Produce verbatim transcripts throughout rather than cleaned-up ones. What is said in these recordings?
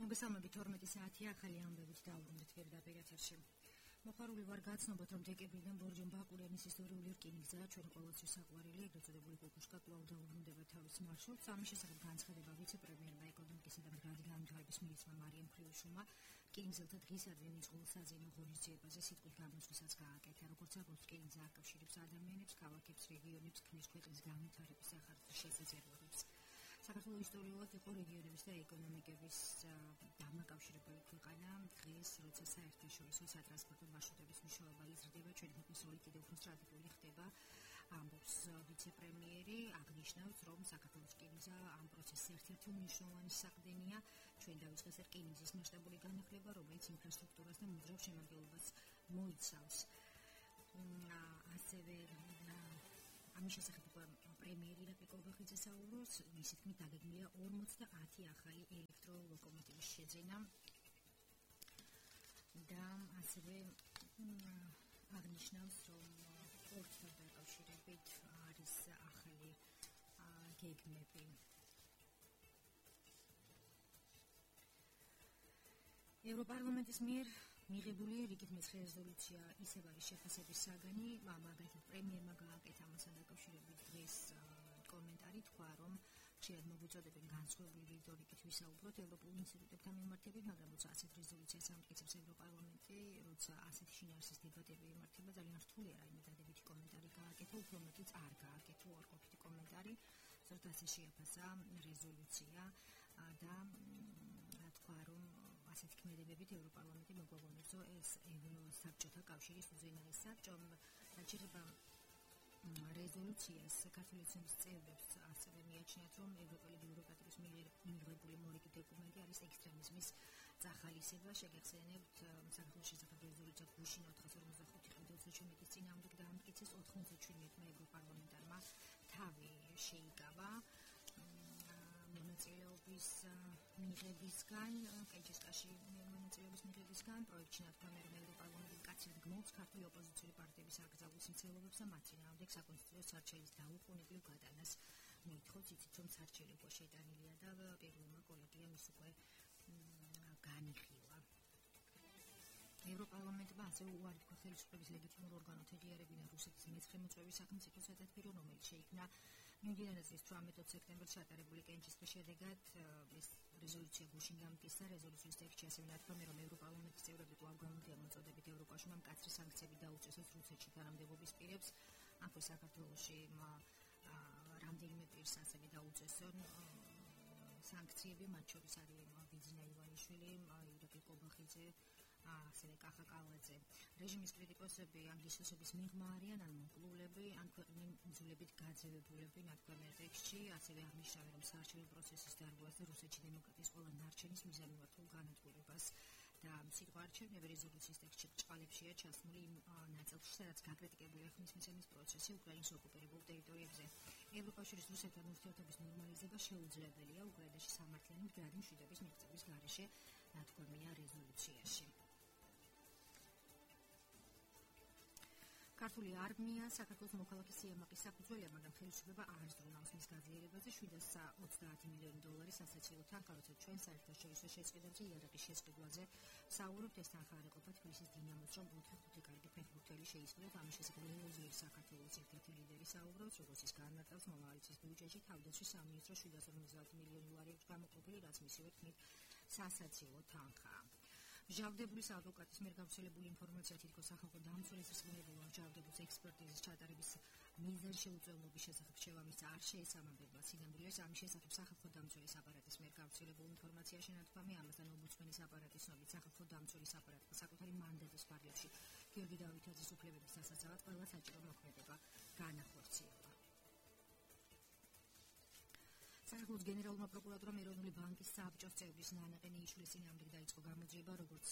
მოგესალმებით თორმეტი საათია ახალი ამბებით დავუბრუნდით პირდაპირ ეთერში. მოხარული ვარ გაცნობოთ, რომ დეკემბრიდან ბორჯომ ბაკურიანის ისტორიული რკინიგზა ჩვენ ყოველთვის საყვარელი ეგრეთ წოდებული კუკუშკა კვლავ დაუბრუნდება თავის მარშრუტს. ამის შესახებ განცხადება ვიცე-პრემიერმა ეკონომიკისა და მდგრადი განვითარების მინისტრმა მარიამ ხრიუშოვმა რკინიგზელთა დღისადმი მიწყვილ საზეიმო ღონისძიებაზე სიტყვის გამოსვლასაც გააკეთა. როგორც აღნიშნავს, რკინიგზა აკავშირებს ადამიანებს, ქალაქებს, რეგიონებს, ქმნის ქვეყნის განვითარების სახარჯის შესაძლებლობებს. საქართველოს ისტორიულად იყო რეგიონების და ეკონომიკების დამაკავშირებელი ქვეყანა. დღეს, როცა საერთაშორისო სატრანსპორტო მარშრუტების მნიშვნელობა იზრდება, ჩვენი ქვეყნის როლი კიდევ უფრო სტრატეგიული ხდება, ამბობს ვიცე-პრემიერი. აღნიშნავს, რომ საქართველოს რკინიგზა ამ პროცესის ერთ-ერთი უმნიშვნელოვანესი საყრდენია. ჩვენ დავიწყეს რკინიგზის მასშტაბური განახლება, რომელიც ინფრასტრუქტურას და მოძრავ შემადგენლობას მოიცავს. ასევე ამის შესახებ პრემიერი რაფიკ ობახიძე საუბრობს, მისი თქმით დაგეგმილია ორმოცდაათი ახალი ელექტროლოკომოტივის შეძენა და ასევე აღნიშნავს, რომ პორტთან დაკავშირებით არის ახალი გეგმები. ევროპარლამენტის მიერ მიღებული რიგით მეცხრე რეზოლუცია ისევ არის შეფასების საგანი. მაგალითად, პრემიერმა გააკეთა ამასთან დაკავშირებით დღეს კომენტარი, თქვა, რომ ხშირად მოგვიწოდებენ განსხვავებული რიტორიკით ვისაუბროთ ევროპულ ინსტიტუტებთან მიმართებით, მაგრამ როცა ასეთ რეზოლუციას ამტკიცებს ევროპარლამენტი, როცა ასეთი შინაარსის დებატები იმართება, ძალიან რთულია რაიმე დადებითი კომენტარი გააკეთა, უფრო მეტიც არ გააკეთა უარყოფითი კომენტარი. ზოგადად ასე შეაფასა რეზოლუცია და თქვა, რომ ასეთი ქმედებებით ევროპარლამენტი მოგვაგონებს, რომ ეს ევროსაბჭოთა კავშირის უზენაეს საბჭომ დაჭირება რეზოლუციას საქართველოს წევრებს ასევე მიაჩნიათ, რომ ევროპელი ბიუროკრატიის მიერ მიღებული მორიგი დოკუმენტი არის ექსტრემიზმის წახალისება. შეგეხსენებთ, საქართველოს შესახებ რეზოლუცია გუშინ ოთხას ორმოცდახუთი წლის წინააღმდეგ დაამტკიცეს, ოთხმოცდაჩვიდმეტმა ევროპარლამენტარმა თავი შეიკავა მონაწილეობის მიღებისგან, კენჭისკაში მონაწილეობის მიღებისგან. პროექტში ნათქვამია, რომ ევროპარლამენტი მკაცრად გმობს ქართული ოპოზიციური პარტიების აკრძალვის მცდელობებს და მათ წინააღმდეგ საკონსტიტუციო სარჩელის დაუყოვნებლივ გადანას მოითხოვს. იცით, რომ სარჩელი უკვე შეტანილია და პირველმა კოლეგიამ ის უკვე განიხილა. ევროპარლამენტმა ასევე უარი თქვა ხელისუფლების ლეგიტიმურ ორგანოთა ეღიარებინა რუსეთის მეცხრე მოწვევის სახელმწიფო სათათბირო, რომელიც შეიქმნა მიმდინარე წლის თვრამეტ სექტემბერში ატარებული კენჭისყრის შედეგად. ეს რეზოლუცია გუშინ გამტკიცა. რეზოლუციის ტექსტში ასევე ნათქვამია, რომ ევროპარლამენტის წევრები კვლავ გამოდგა მოწოდებით ევროკავშირმა მკაცრი სანქციები დაუწესოს რუსეთში თანამდებობის პირებს. ამხო საქართველოში რამდენიმე პირს ასევე დაუწესონ სანქციები, მათ შორის არის ბიძინა ივანიშვილი, ირაკლი კობახიძე, ასევე კახა კალაძე. რეჟიმის კრიტიკოსები ანგლისოსების მიღმა არიან ან მოკლულები, ან ქვეყნიძულებით გაძევებულები, ნათქვამია ტექსტში. ასევე აღნიშნავენ, რომ საარჩევნო პროცესის დარღვევას და რუსეთში დემოკრატიის ყველა ნარჩენის მიზანმიმართულ განადგურებას და სიტყვა არჩევნები რეზოლუციის ტექსტში ბრჭყალებშია ჩასმული იმ ნაწილში, სადაც გაკრიტიკებულია ხმისმიცემის პროცესი უკრაინის ოკუპირებულ ტერიტორიებზე. ევროკავშირის რუსეთთან ურთიერთობის ნორმალიზება შეუძლებელია უკრაინაში სამართლიანი მდგრადი მშვიდობის მიღწევის გარეშე, ნათქვამია რეზოლუციაში. ქართული არმია საქართველოს მოქალაქის სიამაყის საფუძველია, მაგრამ ხელისუფლება არ ზრუნავს მის გაძლიერებაზე. შვიდას ოცდაათი მილიონი დოლარის ასაცილო თანხა, როცა ჩვენ საერთაშორისო შესყიდვებზე იარაღის შესყიდვაზე საუბრობთ, ეს თანხა არ ეყოფა თბილისის დინამოს, რომ ოთხი ხუთი კარგი ფეხბურთელი შეისყიდოთ. ამის შესახებ ლეოზიერი საქართველოს ერთ-ერთი ლიდერი საუბრობს, როგორც ის განმარტავს, მომავალი წლის ბიუჯეტში თავდაცვის სამინისტრო შვიდას ორმოცდაათი მილიონი ლარი აქვს გამოყოფილი, რაც მისივე თქმით სასაცილო თანხაა. მჟავდებული ადვოკატის მიერ გავრცელებული ინფორმაცია თითქოს სახალხო დამცველის რწმუნებულმა მჟავდებულს ექსპერტიზის ჩატარების მიზანი შეუწევლობის შესახებ შევამის არ შეესაბამება სინამდვილეს. ამის შესახებ სახალხო დამცველის აპარატის მიერ გავრცელებულ ინფორმაციაში ნათქვამია, ამასთან ომბუდსმენის აპარატის ცნობით სახალხო დამცველის აპარატმა საკუთარი მანდატის პარალელში გიორგი დავითაძის უფლებების დასაცავად ყველა საჭირო მოქმედება განახორციელა. საქართველოს გენერალურმა პროკურატურამ ეროვნული ბანკის საბჭოს წევრის ნანა ყენეიშვილის წინააღმდეგ დაიწყო გამოძიება, როგორც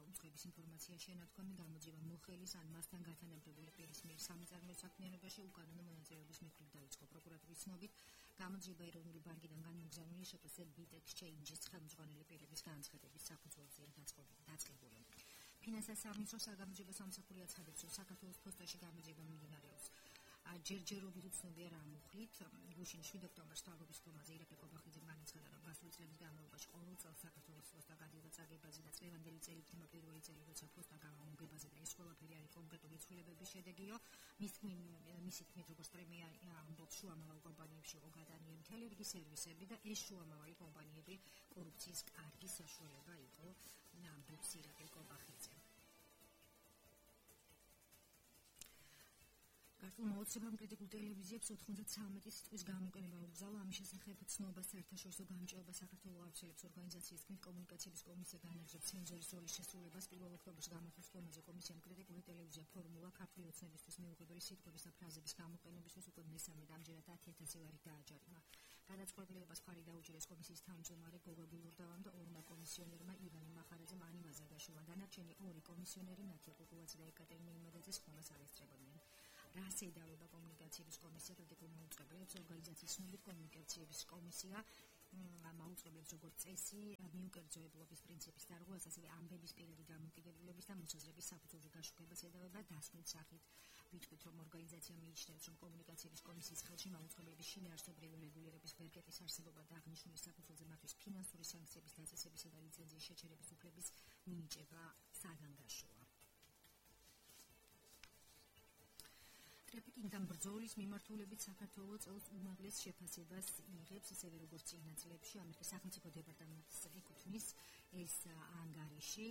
უწყების ინფორმაციაში ნათქვამი, გამოძიება მოხელის ან მასთან გათანაბრებული პირის მიერ სამიწარმოო საქმიანობაში უკანონო მონაწილეობის მიხედვით დაიწყო. პროკურატურის ცნობით, გამოძიება ეროვნული ბანკიდან განმოგზავნილი შეფასე ბიტ ექსჩეინჯის ხელმძღვანელი პირების განცხადების საფუძველზეა დაწყებული. ფინანსთა სამინისტროს საგამოძიებო სამსახური აცხადებს, რომ საქართველოს ფოსტაში გამოძიება მიმდინარეობს. ჯერჯერობით უცნობია რა მუხლით. გუშინ შვიდ ოქტომბერს თავრობის ფორმაზე ირაკლი კობახიძემ განაცხადა, რომ გასული წლების განმავლობაში ყოველ წელს საქართველოს ფოსტა გადიოდა წაგებაზე და წლევანდელი წელი იქნება პირველი წელი, როცა ფოსტა გამომგებაზე და ეს ყველაფერი არის კონკრეტული ცვლილებების შედეგიო. მის მისი თქმით, როგორც პრემია ამბობს, შუამავალი კომპანიებში იყო გადანიებული მთელი რიგი სერვისები და ეს შუამავალი კომპანიები კორუფციის კარგი საშუალება იყო ამბობს ირაკლი კობახიძე. ქართულ მოცემამ კრიტიკულ ტელევიზიებს ოთხმოცდათვრამეტი სიტყვის გამოგონება უბრძალა. ამის შესახებ ცნობას საერთაშორისო გამჭეობა საქართველოს აუცილებს ორგანიზაციის თქმით, კომუნიკაციების კომისია განაგრძობს ცენზორის როლის შესრულებას. პირველ ოქტომბერს გამართულ სხდომაზე კომისიამ კრიტიკული ტელევიზია ფორმულა ქართული ოცნებისთვის მიუღებელი სიტყვების და ფრაზების გამოყენებისთვის უკვე მესამედ ამჯერად ათი ათასი ლარი დააჯარიმა. გადაწყვეტილებას მხარი დაუჭირეს კომისიის თავმჯდომარე გოგა გულურდავამ და ორმა კომისიონერმა ივანე მახარაძემ, ანივა ზაგაშვილმა. დანარჩენი ორი კომისიონერი ნათია კუკულაძე და ეკატერინე იმედაძე სხდომას არ ესწრებოდნენ. რას ედავება კომუნიკაციების კომისია კრიტიკულ მაუწყებლებს? ორგანიზაციის ცნობით კომუნიკაციების კომისია მაუწყებლებს როგორც წესი მიუკერძოებლობის პრინციპის დარღვევას, ასევე ამბების პირადი დამოკიდებულების და მოსაზრების საფუძველზე გაშუქებას ედავება დასკვნის სახით. ვიტყვით, რომ ორგანიზაცია მიიჩნევს, რომ კომუნიკაციების კომისიის ხელში მაუწყებლების შინაარსობრივი რეგულირების ბერკეტის არსებობა და აღნიშნული საფუძველზე მათთვის ფინანსური სანქციების დაწესებისა და ლიცენზიის შეჩერების უფლების მინიჭება საგანგაშოა. ტრაფიკინგთან ბრძოლის მიმართულებით საქართველოს წელს უმაღლეს შეფასებას იღებს, ისევე როგორც წინა წლებში. ამერიკის სახელმწიფო დეპარტამენტს ეკუთვნის ეს ანგარიში.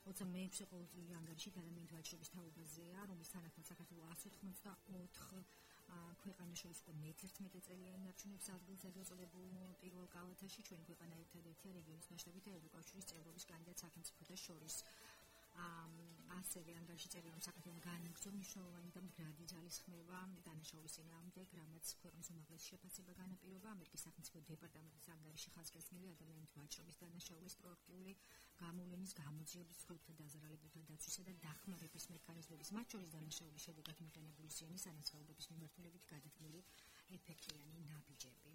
ოცდა მეექვსე ყოველწლიური ანგარიში ადამიანთა ვაჭრობის თაობაზეა, რომლის თანახმად საქართველოს ასი ოცდაოთხ ქვეყანას შორის უკვე მეთერთმეტე წელიანი ნარჩუნებს ადგილს აღწოდებულ პირველ კალათაში. ჩვენი ქვეყანა ერთადერთია რეგიონის მასშტაბით და ევროკავშირის წევრობის კანდიდატ სახელმწიფოთა შორის. ასევე ანგარიში წერია, რომ საქართველოს განაგრძო მნიშვნელოვანი და მდგრადი ძალისხმევა დანაშაულის წინააღმდეგ, რამაც ქვეყნის უმაღლესი შეფასება განაპირობა. ამერიკის სახელმწიფო დეპარტამენტის ანგარიში ხაზგასმული ადამიანთა ვაჭრობის დანაშაულის პროაქტიული გამოვლენის, გამოძიების, სხეულთა დაზარალებულთა დაცვისა და დახმარების მექანიზმების, მათ შორის დანაშაულის შედეგად მიღებული სენის ანაცხოვრების მიმართულებით გადადგმული ეფექტიანი ნაბიჯები.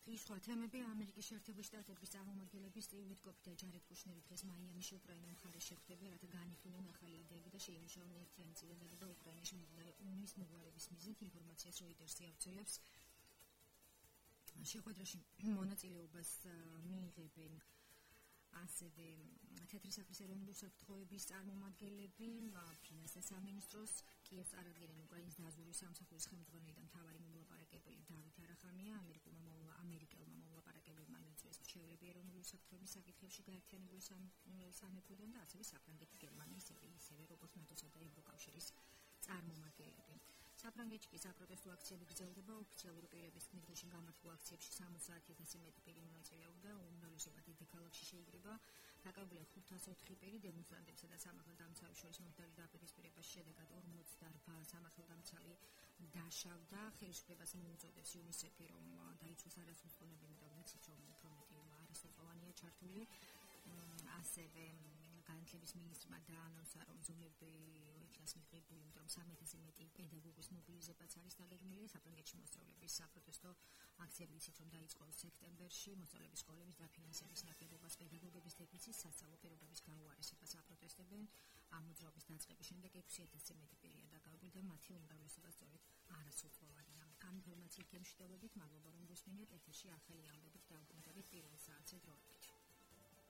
სხვა თემები. ამერიკის შეერთებული შტატების წარმომადგენლები სტივ ვიტკოფი და ჯარედ კუშნერი დღეს მაიამიში უკრაინა მხარეს შეხვდნენ, რათა განიხილონ ახალი იდეები და შეიმუშაონ ერთიანი წინადადება უკრაინაში მიმდინარე ომის მოგვარების მიზნით. ინფორმაციას როიტერსი ავრცელებს. შეხვედრაში მონაწილეობას მიიღებენ ასევე თეთრი საქმის ეროვნული უსაფრთხოების წარმომადგენლები, ფინანსთა სამინისტროს, კიევს წარადგენენ უკრაინის დაზვერვის სამსახურის ხელმძღვანელი და მთავარი მომლაპარაკებელი დავით არახამია. ამერიკულმა ამერიკელმა მომლაპარაკებლებმა მიიწვიეს რჩეულები ეროვნული უსაფრთხოების საკითხებში გაერთიანებული სამეფოდან და ასევე საფრანგეთი, გერმანია, ისევე როგორც ნატოსა და ევროკავშირის წარმომადგენლები. საფრანგეთში კი საპროტესტო აქციები გრძელდება. ოფიციალური პირების თქმით, დღეში გამართულ აქციებში სამოცდაათი ათასი მეტი პირი მონაწილეობდა. უმრავლესობა დედაქალაქში შეიკრიბა. დაკავებულია ხუთას ოთხი პირი. დემონსტრანტებსა და სამართალდამცავებს შორის მომხდარი დაპირისპირების შედეგად ორმოცდაორბა სამართალდამცავი დაშავდა. ხელისუფლებას მოუწოდებს იუნისეფი, რომ დაიცვას არასრულწლოვანი და ვიცით, რომ უფრო მეტი არასრულწლოვანია ჩართული. ასევე განათლების მინისტრმა დაანონსა, რომ ზომები იქნას მიღებული, იმიტომ სამი ათასი მეტი პედაგოგის მობილიზებაც არის დაგეგმილი. საფრანგეთში მოსწავლეების საპროტესტო აქციები იცით, რომ დაიწყო სექტემბერში. მოსწავლეების სკოლების დაფინანსების ნაკლებობას, პედაგოგების დეფიციტს, სასწავლო პირობების გაუარესებას აპროტესტებენ. ამ მოძრაობის დაწყების შემდეგ ექვსი ათასი მეტი პირია დაკავებული და მათი უმრავლესობა სწორედ არასრულწლოვანია. ამ ინფორმაციით გემშვიდობებით, მადლობა რომ გусმინეთ. ეთერში ახალი ამბებით დაუბრუნდებით პირველ საათზე დროებით.